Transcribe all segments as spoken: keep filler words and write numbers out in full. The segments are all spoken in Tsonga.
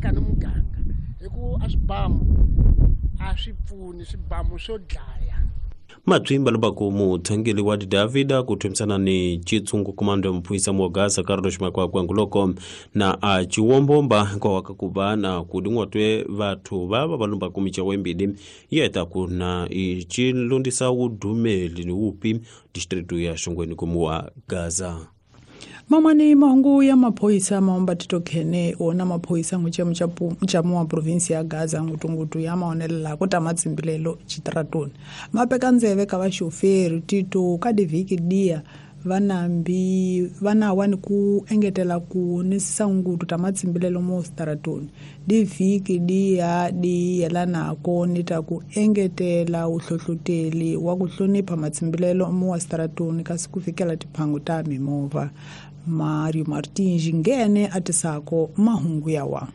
aka ni muganga hi ku a swibamu a swi pfuni swibamu swo dlaya. Matwimba lubaku muthangeli wa Davida kuthumisana ni chitsungu komando ya muphuisa mwa Gaza Carlos Makwakwa na a chiwombomba kwa wakakuba na kudingwatwe vathu vava valumba kumicha wembili yeta kuna ichilundisa udumeli ni upi distritu ya Shongweni kumuwa Gaza. Mamani mahungu ya maphoyisa maomba titokhene wona maphoyisa nguchemu chamu wa provinsi ya Gaza ngutungutu ya maonelela ku ta matsimbilelo chitratoni mapeka ndzeve ka vaxoferi tito ka divhiki dia vanambi vanawa ni ku engetela ku nisisa ngutu ta matsimbilelo mo stratoni divhiki dia di yelanako ni ta ku engetela uhlohloteli wa ku hlonipha matsimbilelo mo wa stratoni kasi ku fikela tiphangu ta mimovha. Mario Martins ngene atisako mahungu yawa.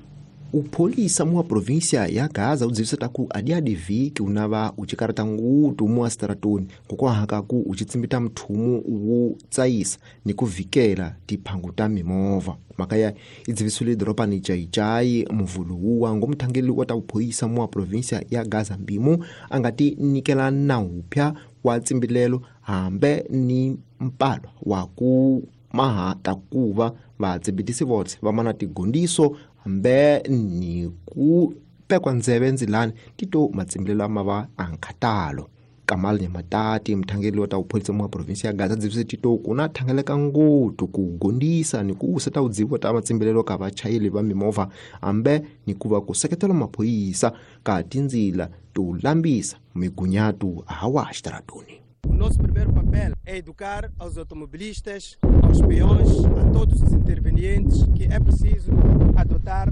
Upholisa mwa província ya Gaza udzivisa taku adiadivhiki unava uchikarata ngutu mwa stratoni kokwahaka ku uchitsimbita mthumu wo tsayisa ni kuvikela tiphangu ta mimovha. Makaya idzivisule doropani Chaichai muvulu wa ngomthangeli wa ta upholisa mwa província ya Gaza mbimu angati nikela naupya wa tsimbilelo hambe ni mpalo wa ku maha takuva vatsibitisi votse va mana tigondiso hambe ni ku pekwa ndzeve ndzilani tito matsimbilelo ama va ankhatalo. Kamal Nyamatati mthangeli wa ta upholisa mwa provinsi ya Gaza dzivise tito kuna thangeleka ngutu ku gondisa ni ku useta udzivo ta matsimbilelo ka vachayeli va mimovha hambe ni ku va ku seketela maphoyisa ka tindzila to lambisa migunyatu hawa xitaratoni. O nosso primeiro papel é educar aos automobilistas, aos peões, a todos os intervenientes que é preciso adotar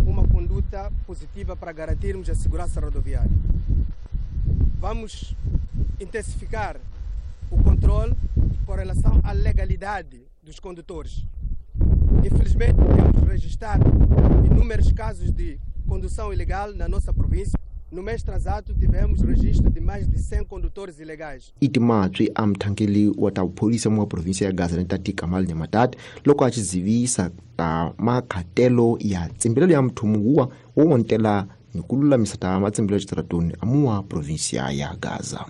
uma conduta positiva para garantirmos a segurança rodoviária. Vamos intensificar o controle com relação à legalidade dos condutores. Infelizmente, temos registrado inúmeros casos de condução ilegal na nossa província. No mês transato tivemos registro de mais de cem condutores ilegais. Itimatswi a mthangeli wa ta upholisa mwa província ya Gaza ni Kamal Nyamatati loko a chizivisa ta makhatelo ya tsimbilelo ya mthumu wa wo wontela ni ku lulamisa ta matsimbilelo xitaratoni amuwa província ya Gaza.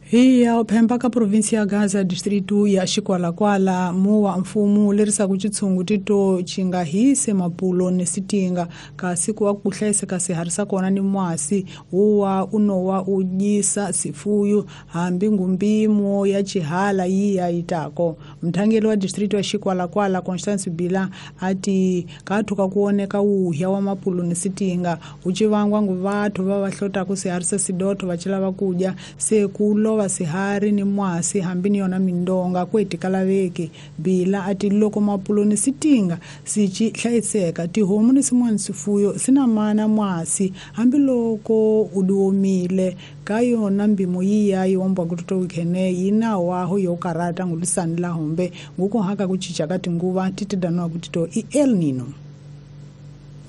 Hiya uphemba ka provinsi ya Gaza distritu ya Xikwalakwala muwa mfumo lerisaku chitshungu tito chinga hise mapulo ni sitinga kasi ku wa ku hlayiseka swiharhi swa kona ni mwasi wuwa unowa u dyisa sifuyo hambi ngumbimo ya chihala yiya yitako. Mthangeli wa distritu ya Xikwalakwala Constance Bila ati kathuka kuoneka wuhya wa mapulo ni sitinga uchivangwa ngu vathu va va hlotaku swiharhi swa sidotho va chilava kudya se ku lova sihari ni mwasi hambi ni yona mindonga kwetikalaveki. Bila ati loko mapulo ni sitinga sichi hlayiseka tihomu ni sin'wana swifuyo sina mana mwasi hambiloko u diomile ka yona mbimo yiya yi omba ku toto wikhene yi na waho yo karata ngulisani la hombe ngukuhaka ku cinca ka tinguva ti tidaniwa ku tito i El Nino.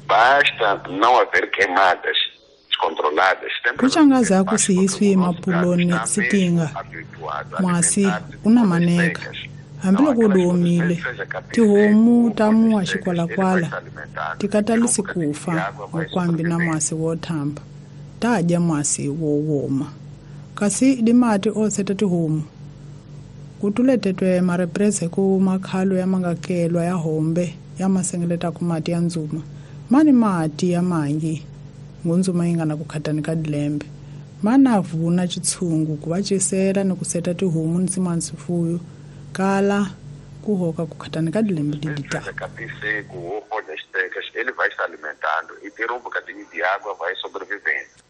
Basta não haver queimadas descontroladas. Kuchangaza ku sihiswi mapuloni sitinga mwasi una maneka hambiloko u diomile tihomu ta muwa Xikwalakwala tikatalisi kufa vukwambi na mwasi wo thamba ta dya mwasi wo woma kasi dimati o seta tihomu ku tuletetwe mareprese ku makhalo ya mangakelwa ya hombe ya masengeleta ku mati ya ndzuma mani mati ya mangi ngunzuma yi nga na ku khatani ka dilembe mana vuna chitshungu ku va cisela ni ku seta tihomu ni sin'wana swifuyo kala ku hoka ku khatani ka dilembe di Seja capim seco ou folhas secas, ele vai se alimentando e ter um bocadinho de água vai sobrevivendo.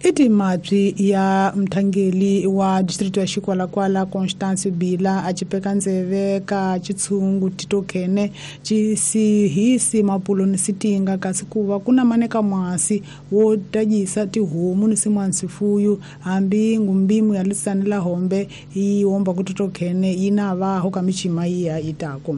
I timapyi ya mthangeli wa distritu ya Xikwalakwala Constance Bila a chipeka ndzeve ka chitshungu titokhene chisihisi mapulo ni sitinga kasi ku va ku na maneka mwasi wo tadyisa tihomu ni sin'wana swifuyo hambi ngumbimu ya lisani la hombe yi omba ku titokhene yi na vaho ka michima yiya yitako.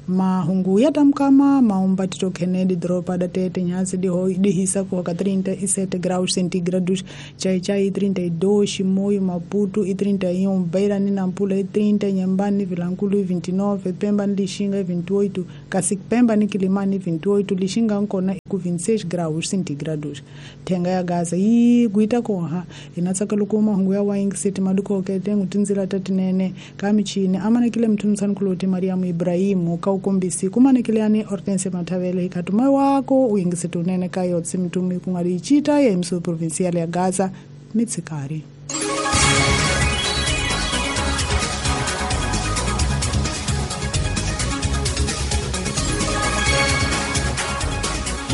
Mahungu ya tamkama maomba tito Kennedy dropa da tete nhazi de hoi de hisa ku hoka trinta e sete graus centígrados, Chai-Chai trinta e dois, Chimoio, Maputo e trinta e um, Beira ni Nampula e trinta, Inhambane Vilankulo e vinte e nove, Pemba ni Lixinga e vinte e oito, Cacique Pemba ni Quilimane vinte e oito, Lixinga Ancona ku vinte e seis graus centígrados. Thenga ya Gaza yi gwita koha ina tsakelo ku mahungu ya wayingiseti madukoke tengu tindzila ta tinene ka michini amanekile mthuntsani kuloti Mariamu Ibrahimu ka ukombisi kumanekile yani Hortense Mathavele hikhatuma wako uyingiseti unene ka yotsi mtumi ku nga ri chita ya emso provincial ya Gaza mitsikari.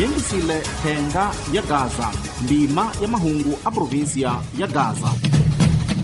Yingisile thenga ya Gaza, ndima ya mahungu a provinsia ya Gaza.